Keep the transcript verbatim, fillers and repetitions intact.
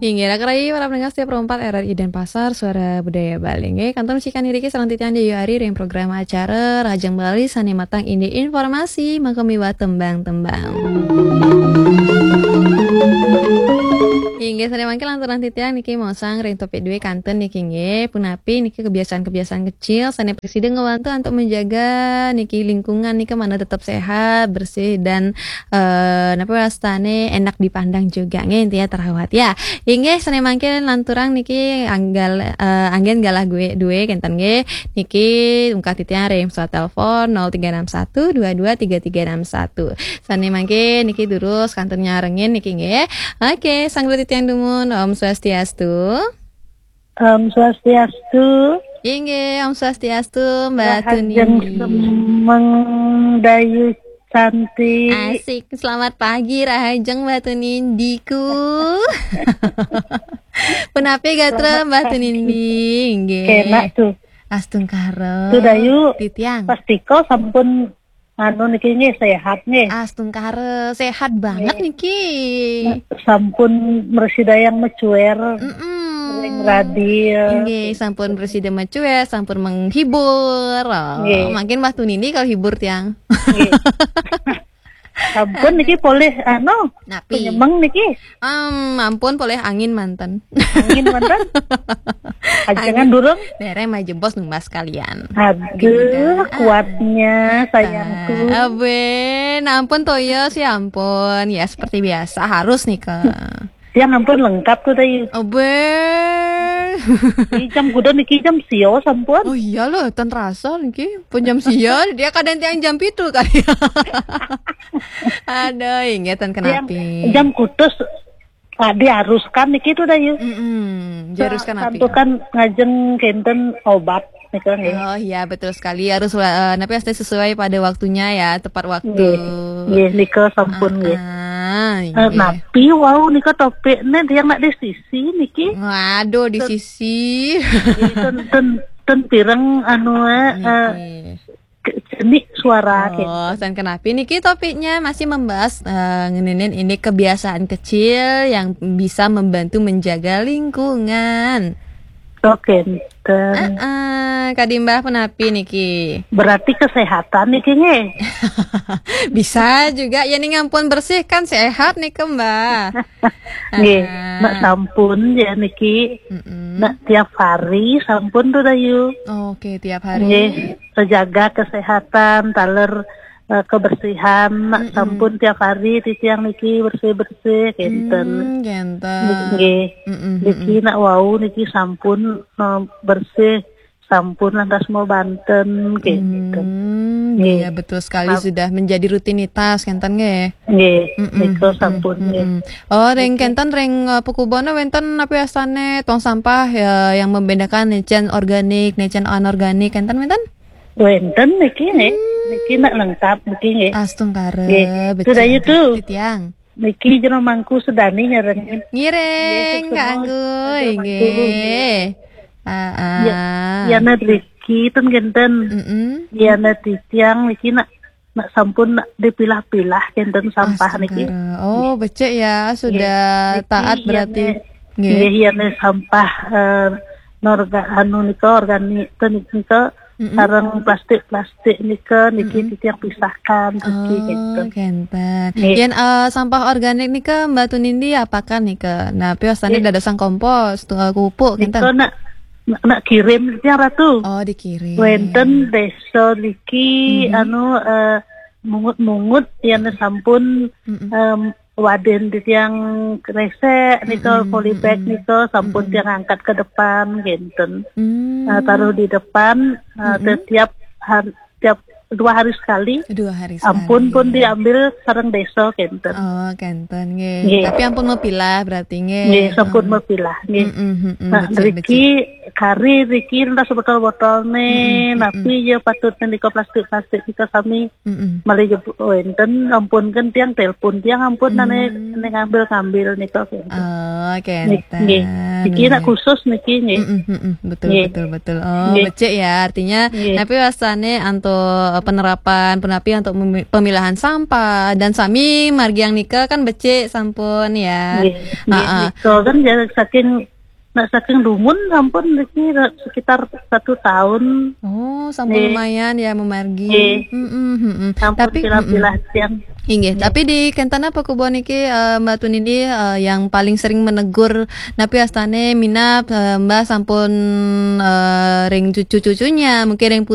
Inggih, raka rayi para pendengar setia Pro empat R R I Denpasar, Suara Budaya Bali. Inggih, kantun masikan iriki sareng titiang Dewi Ari ring program acara Rahajeng Bali sane matang indik informasi maka miwah tembang-tembang. Inggih, sane mangkin lanturang titiang niki maosang ring topik due kantun niki nggih. Punapi niki kebiasaan-kebiasaan kecil sane prasida ngebantu untuk menjaga niki lingkungan nika mana tetap sehat, bersih dan eh napa wastane enak dipandang juga nggih, intinya terawat ya. Inggih, sane mangkin lanturang niki anggal eh, anggen galah gue due kenten nggih. Niki ungkah titiang ring pesawat telepon nol tiga enam satu dua dua tiga tiga enam satu. Sane mangkin niki durus kantun nyarengin niki nggih. Oke, sang titiang dumun, Om Swastiastu. Om Swastiastu. Inggih, Om Swastiastu, Mbak Rahajeng Tunindi. Semeng Dayu Santi. Asik, selamat pagi Rahajeng Mbak Tunindiku. Punapi gatra Selamat Mbak pagi. Tunindi, inggih. Enak tuh. Astungkara. Tuh, Dayu. Titiang. Pastika sampun anu niki nggih sehat nggih. Astungkara, sehat banget Nggih. niki. Sampun mresida yang mecuer Mm-mm. ring radio. Inggih, sampun presida mecuer, sampun menghibur. Oh, Nggih. Mangkin Mbah Tunindi kalau hibur tiang. Nggih. Sampun niki polih anu Napi? Penyemeng niki. Em, ampun polih angin manten. Angin manten. Ajengan Angin. Durung. Dereng mah jebos numbas kalian. Aduh, Gila. Kuatnya sayangku. Aben, ampun toya sih ampun. Ya seperti biasa harus nih ke. Tiang ampun lengkap tuh tadi. Aben. Ini jam kuda niki jam sio sampun. Oh iya loh, tan rasa niki. Pun jam sio, dia kadang tiang jam pitu kali. Aduh, inggih tan Tiang kenapi. Jam kutus ah, diharuskan niki tuh dah yuk. Mm-mm, diharuskan Sa- napi? Santukan ngajeng kenten obat nika nggih. Oh iya, betul sekali. Harus eh, napi pasti sesuai pada waktunya ya, tepat waktu. Nggih. Nggih, nika sampun nggih. Ah, Eh, nggih. Napi wau nika topik ne dia nak di sisi niki. Waduh, di sisi. Nggih, ten, ten, ten pireng anu eh, eh, Nggih. ke- jenik suara Oh, nggih. San kenapi niki topiknya masih membahas eh, ngeninin ini kebiasaan kecil yang bisa membantu menjaga lingkungan. Oke, ten. Heeh, kadimbah punapi niki? Berarti kesehatan niki nggih. Bisa juga ya ning ampun bersih kan sehat nih Mbah. Nggih, Heeh. Nak sampun ya niki. Mm-mm. Nak tiap hari sampun tuh Dayu. Oke, tiap hari. Nggih, terjaga kesehatan, taler eh, kebersihan, nak Mm-mm. Sampun tiap hari titiang niki bersih-bersih kenten. Hmm, kenten. Nggih. Mm-mm, Niki mm-mm. Nak wau niki sampun eh, bersih, sampun lantas mau banten kenten. Hmm, Nggih. Iya betul sekali Sap- sudah menjadi rutinitas kenten nggih. Nggih, Mm-mm, nika mm-mm, sampun nggih. Mm-mm. Oh, ring Niki. Kenten ring eh, pekubone wenten apa asane tong sampah ya yang membedakan necen organik, necen anorganik kenten wenten? Wenten niki nggih. Hmm. Niki nak lengkap niki nggih. Astungkara, Nggih. Becik. Sudah itu. Titiang. Niki jero mangku sedani nyerengin. Ngiring, Nggih, Kak semua Anggu, jero mangku. Nggih. Ah, ah. Ya, ya, Nat Riki, ten genten. Mm-mm. Ya, Nat Titiang, niki nak, nak sampun nak dipilah-pilah genten sampah niki. Astungkara. Oh, becik ya, sudah Nggih. Niki taat ya, berarti. Nat. Nggih. Nggih, ya, Nat, sampah eh, norga anu nika organik ten nika Mm-mm. Sareng plastik-plastik nika niki Mm-mm. Titiang pisahkan suci Oh, gitu. Kenten. Nggih. Yen eh, sampah organik nika Mbak Tunindi apakan nika? Nah, piosane Nggih. Dadosang kompos, tunggal pupuk Nika kenten. Nak nak kirim titiang Ratu. Oh, dikirim. Wenten desa niki Mm-hmm. Anu eh, mungut-mungut yen sampun Mm-mm. em, waden titiang kresek nika Mm-mm, polybag mm-mm. Nika sampun Mm-mm. Tiang angkat ke depan genten. Mm. Eh, taruh di depan eh, Mm-mm. Setiap hari tiap dua hari sekali. Dua hari sekali. Ampun pun diambil sareng desa genten. Oh, genten nggih. Nggih. Tapi ampun mepilah berarti nggih. Nggih, sampun mepilah nggih. Mm-mm, mm-mm, nah, becik, riki becik. Kari riki entah sebotol-botol nih, Mm-mm, napi mm-mm. Ya patut nika plastik-plastik kita sami Mm-mm. Malih jebul wenten ampun kan tiang telepon tiang ampun Hmm. Nane ngambil-ngambil nika. Oh, kenten. Nggih. Niki nak khusus niki nggih. Mm-mm, mm-mm, betul Nggih. Betul betul. Oh, Nggih. Becik ya. Artinya Nggih. Napi wastane antuk penerapan punapi antuk memi- pemilahan sampah dan sami margiang nika kan becik sampun ya. Nggih. Nggih, Heeh. Nika kan ya saking nak saking dumun sampun niki sekitar satu tahun. Oh, sampun Nggih. Lumayan ya memargi. Nggih. Mm-mm, mm-mm. Sampun Tapi mm-mm. Pilah-pilah tiang. Inggih, tapi di kentana pakubon niki eh, Mbak Tunidi eh, yang paling sering menegur napi astane minab eh, Mbak sampun eh, ring cucu-cucunya, mungkin ring